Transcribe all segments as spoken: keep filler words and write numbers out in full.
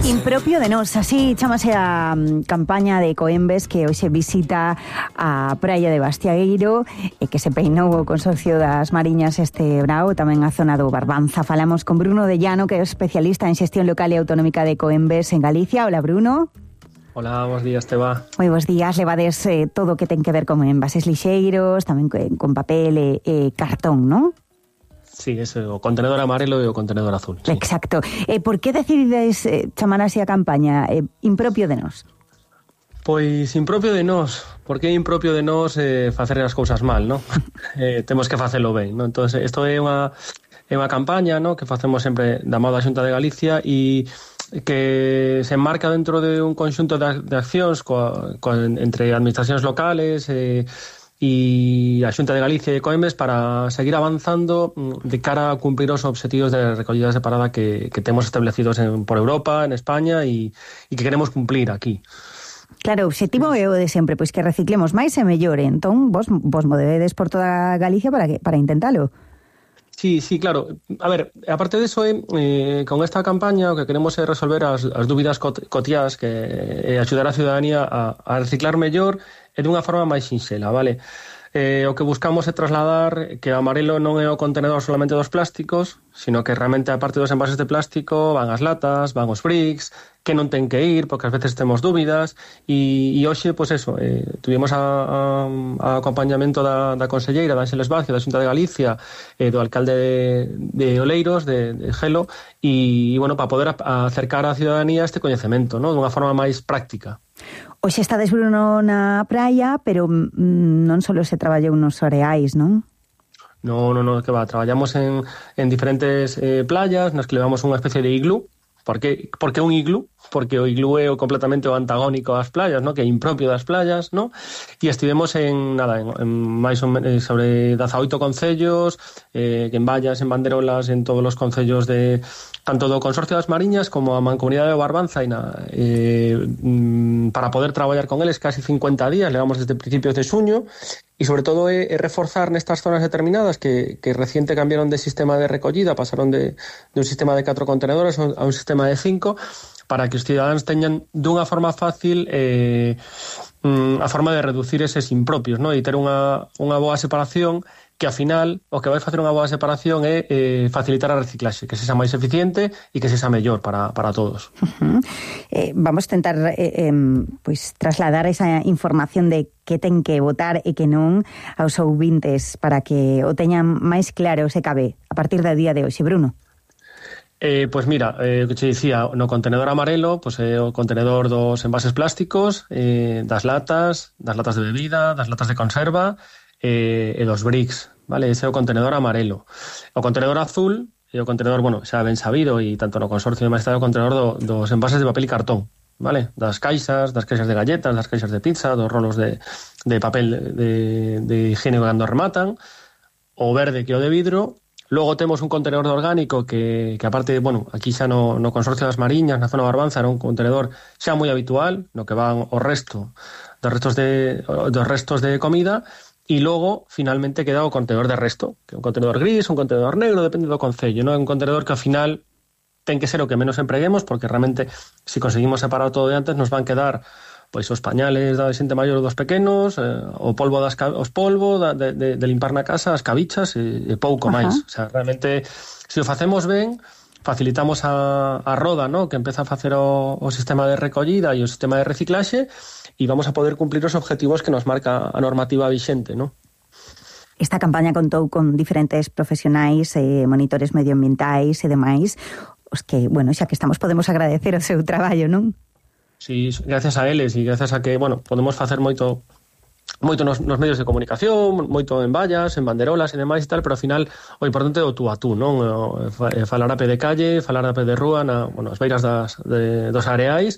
Impropio de nós, así chamase a um, campaña de Coembes que hoxe visita a praia de Bastiagueiro e que se peinou o Consorcio das Mariñas este brao, tamén a zona do Barbanza. Falamos con Bruno de Llano, que é especialista en xestión local e autonómica de Coembes en Galicia. Hola, Bruno. Hola, bons días, Teba. Moi bons días, levades eh, todo o que ten que ver con envases lixeiros, tamén con papel e, e cartón, non? Sí, ese, o contenedor amarelo e o contenedor azul. Sí. Exacto. Eh, por que decidides eh, chamar así a campaña eh, Impropio de nós? Pois impropio de nós, porque é impropio de nós eh, facer as cousas mal, non? eh, temos que facelo ben, non? Entón, isto é unha, é unha campaña, non? Que facemos sempre da mão da Xunta de Galicia e que se enmarca dentro de un conxunto de, de accións coa, coa, entre administracións locales e eh, e a Xunta de Galicia e Coembes para seguir avanzando de cara a cumprir os obxectivos de recollida separada que, que temos establecidos en, por Europa, en España e, e que queremos cumplir aquí. Claro, o obxectivo é o de sempre, pois que reciclemos máis e mellor, entón vos, vos movedes por toda Galicia para, que, para intentalo. Sí, sí, claro. A ver, aparte de eso, eh, con esta campaña o que queremos é resolver as, as dúbidas cotiás que eh, axudar a ciudadanía a, a reciclar mellor e dunha forma máis sinxela, vale? Eh, o que buscamos é trasladar que o amarelo non é o contenedor solamente dos plásticos, sino que realmente a parte dos envases de plástico van as latas, van os bricks, que non ten que ir, porque ás veces temos dúbidas, e, e hoxe, pois eso, eh, tuvimos a, a, a acompañamento da, da conselleira, da Ángeles Vázquez, da Xunta de Galicia, eh, do alcalde de, de Oleiros, de, de Gelo, e, e bueno, para poder a, acercar á ciudadanía este coñecemento, ¿no? Dunha forma máis práctica. Hoxe estades, Bruno, na praia, pero mm, non só se traballou nos areais, non? No, no, no, que va, traballamos en, en diferentes eh, playas nas que levamos unha especie de iglú. Por que, por que un iglú? Porque o iglú é o completamente o antagónico ás playas, ¿no? Que é impropio das playas, ¿no? E estivemos en, nada, en, en máis ou menos sobre dezaoito concellos, eh, en vallas, en banderolas, en todos os concellos de tanto do Consorcio das Mariñas como a Mancomunidade do Barbanza e na, eh, para poder traballar con eles casi cincuenta días, levamos desde principios de xuño, e sobre todo é, é reforzar nestas zonas determinadas que, que reciente cambiaron de sistema de recollida, pasaron de, de un sistema de catro contenedores a un sistema de cinco, para que os cidadáns teñan dunha forma fácil eh, a forma de reducir eses impropios, ¿no? E ter unha, unha boa separación que, ao final, o que vai facer unha boa separación é eh, facilitar a reciclaxe, que sexa máis eficiente e que sexa mellor para, para todos. Uh-huh. Eh, vamos a tentar eh, eh, pois, trasladar esa información de que ten que votar e que non aos ouvintes para que o teñan máis claro se cabe a partir do día de hoxe, Bruno. Eh, pois mira, eh, o que te dicía, no contenedor amarelo, pois é o contenedor dos envases plásticos, eh, das latas, das latas de bebida, das latas de conserva, e, e dos bricks, vale? Ese é o contenedor amarelo. O contenedor azul é o contenedor, bueno, xa ben sabido, e tanto no consorcio máis está o contenedor do, dos envases de papel e cartón, vale? Das caixas, das caixas de galletas, das caixas de pizza, dos rolos de, de papel de, de higiene cando rematan, o verde que é o de vidro. Logo temos un contenedor de orgánico que, que aparte, bueno, aquí xa no, no Consorcio das Mariñas, na zona Barbanza, era un contenedor xa moi habitual, no que van o resto dos restos de, dos restos de comida, e logo, finalmente, queda o contenedor de resto, que é un contenedor gris, un contenedor negro, depende do concello, non? É un contenedor que, ao final, ten que ser o que menos empreguemos, porque realmente, se conseguimos separar todo de antes, nos van quedar pois os pañales da xente maior dos pequenos, eh, o polvo das os polvo da, de, de, de limpar na casa, as cabichas e, e pouco máis. O sea, realmente, se o facemos ben, facilitamos a, a roda, ¿no? Que empeza a facer o, o sistema de recollida e o sistema de reciclaxe, e vamos a poder cumplir os objetivos que nos marca a normativa vixente, ¿no? Esta campaña contou con diferentes profesionais, eh, monitores medioambientais e demais, os que, bueno, xa que estamos, podemos agradecer o seu traballo, non? Sí, gracias a eles e gracias a que, bueno, podemos facer moito moito nos, nos medios de comunicación, moito en vallas, en banderolas e demais e tal, pero ao final o importante é o tú a tú, non? O, falar a pé de calle, falar a pé de rúa, na, bueno, as beiras das, de, dos areais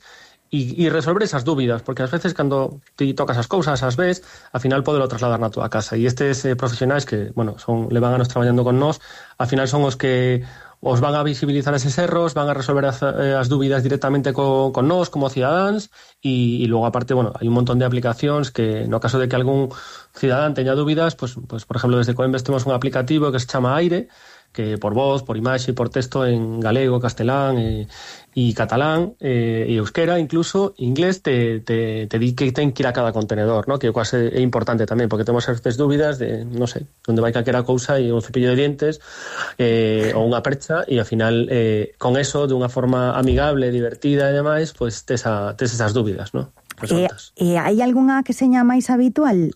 e, e resolver esas dúbidas, porque ás veces cando ti tocas as cousas, as ves, ao final podelo trasladar na túa casa, e estes eh, profesionais que, bueno, son levan anos traballando con nós, ao final son os que os van a visibilizar eses erros, van a resolver as, as dúbidas directamente co, con nós como cidadáns e, e logo aparte, bueno, hai un montón de aplicacións que no caso de que algún cidadán teña dúbidas, pues, pues por exemplo desde Coembes temos un aplicativo que se chama Aire, que por voz, por imaxe, por texto en galego, castelán e, e catalán e, e euskera, incluso inglés te, te, te di que ten que ir a cada contenedor, ¿no? Que quase é importante tamén, porque temos certas dúbidas de, non sei, onde vai calquera cousa e un cepillo de dientes eh, ou unha percha, e ao final eh, con eso, de unha forma amigable, divertida e demais, pues tes, a, tes esas dúbidas, ¿no? E, e hai algunha que seña máis habitual?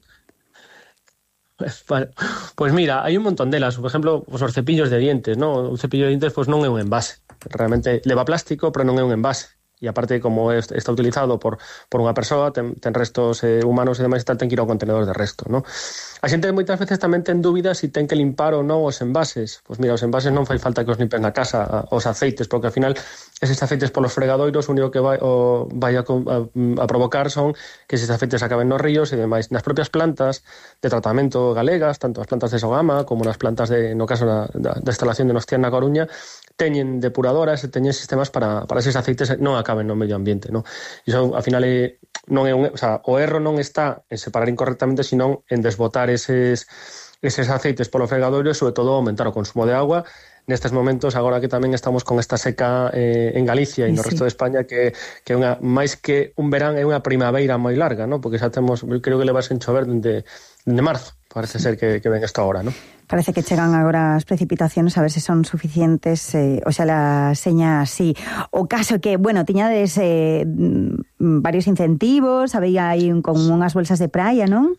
Vale. Pues mira, hai un montón delas. Por exemplo, os cepillos de dientes, ¿no? Un cepillo de dientes pues non é un envase. Realmente leva plástico, pero non é un envase. E aparte, como está utilizado por, por unha persoa, ten, ten restos eh, humanos e demais, tal, ten que ir ao contenedor de resto, ¿no? A xente moitas veces tamén ten dúbidas se si ten que limpar ou non os envases. Pois mira, os envases non fai falta que os limpen a casa, os aceites, porque ao final eses aceites polos fregadoiros o único que vai, o, vai a, a, a provocar son que eses aceites acaben nos ríos e demais. Nas propias plantas de tratamento galegas, tanto as plantas de Sogama como nas plantas de, no caso da, da, da instalación de Nostián na Coruña, teñen depuradoras e teñen sistemas para, para eses aceites non acaben no medio ambiente, ¿no? E iso, ao final, é, non é un, o sea, o erro non está en separar incorrectamente, sino en desbotar eses, eses aceites polo fregadoiro e, sobre todo, aumentar o consumo de agua. Nestes momentos, agora que tamén estamos con esta seca eh, en Galicia e no sí. resto de España, que, que unha, máis que un verán é unha primavera moi larga, ¿no? Porque xa temos, creo que levas en chover dende, dende marzo, parece ser que, que ven esta hora, ¿no? Parece que chegan agora as precipitaciones, a ver se son suficientes, eh, o sea, la seña así. O caso que, bueno, tiñades eh, varios incentivos, había aí con unhas bolsas de praia, non?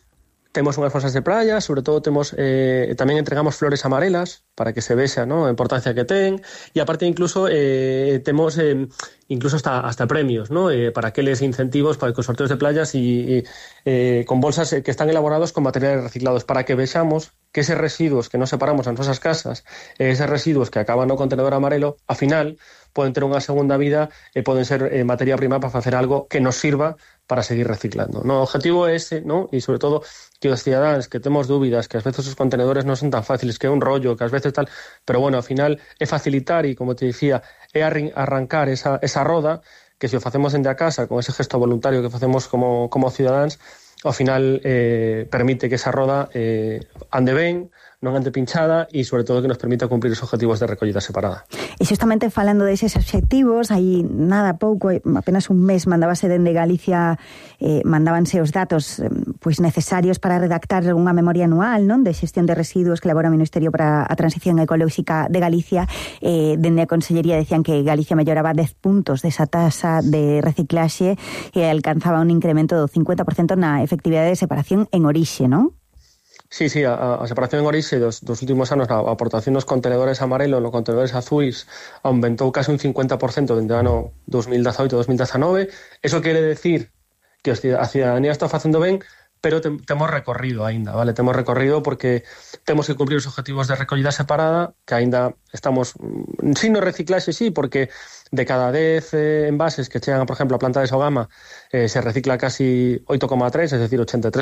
Temos unhas bolsas de praia, sobre todo temos eh, tamén entregamos flores amarelas para que se vexa, ¿no?, a importancia que ten, e aparte incluso eh, temos eh, incluso hasta, hasta premios, ¿no?, eh, para aqueles incentivos para os sorteos de playas e eh, con bolsas que están elaborados con materiales reciclados para que vexamos que eses residuos que nos separamos nas nosas casas, eses residuos que acaban no contenedor amarelo, ao final poden ter unha segunda vida e poden ser eh, materia prima para facer algo que nos sirva para seguir reciclando, ¿no? O objetivo é ese, ¿no? E sobre todo que os cidadáns que temos dúbidas, que ás veces os contenedores non son tan fáciles, que é un rollo, que ás veces tal, pero bueno, ao final é facilitar e, como te dicía, é arrancar esa, esa roda que se o facemos dende a casa, con ese gesto voluntario que facemos como, como cidadáns, ao final eh, permite que esa roda eh, ande ben, non ande pinchada e, sobre todo, que nos permita cumprir os objetivos de recollida separada. E xustamente falando deses obxectivos, aí nada pouco, apenas un mes mandábase dende Galicia, eh, mandábanse os datos eh, pois necesarios para redactar unha memoria anual, non, de xestión de residuos que elabora o Ministerio para a Transición Ecolóxica de Galicia. Eh, dende a Consellería decían que Galicia melloraba dez puntos desa tasa de reciclaxe e alcanzaba un incremento do cincuenta por cento na efectividade de separación en orixe, non? Sí, sí, a, a separación en orixe dos, dos últimos anos, a aportación nos contenedores amarelos, nos contenedores azuis, aumentou casi un cincuenta por cento dende o ano dos mil dezaoito a dos mil dezanove. Eso quere decir que a cidadanía está facendo ben, pero te, temos recorrido aínda, vale? Temos recorrido porque temos que cumprir os objetivos de recollida separada, que aínda estamos, sin no reciclaxe, sí, porque de cada dez eh, envases que chegan, por exemplo, a planta de Sogama, eh, se recicla casi oito coma tres, es decir, ochenta y tres